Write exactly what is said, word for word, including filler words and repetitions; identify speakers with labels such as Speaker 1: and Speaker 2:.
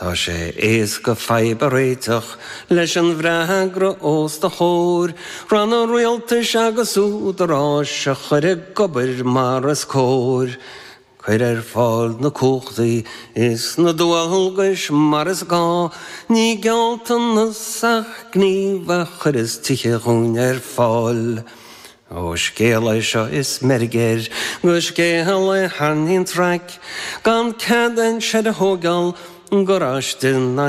Speaker 1: Tá sé éasca fadhb a réiteach leis an bhfreagra os do chomhair, Ranna rialtais agus údaráis a chur ag obair mar is cóir. Cuir ar fáil na cumhachtaí is na dualgais mar is gá, ní gealltanas ach gníomh a chuirfeas tithe dhúinn ar fáil. Ó scéal é seo is meirg air, go scéal é thar an traic, gan cead aon seid a thógáil garáiste ná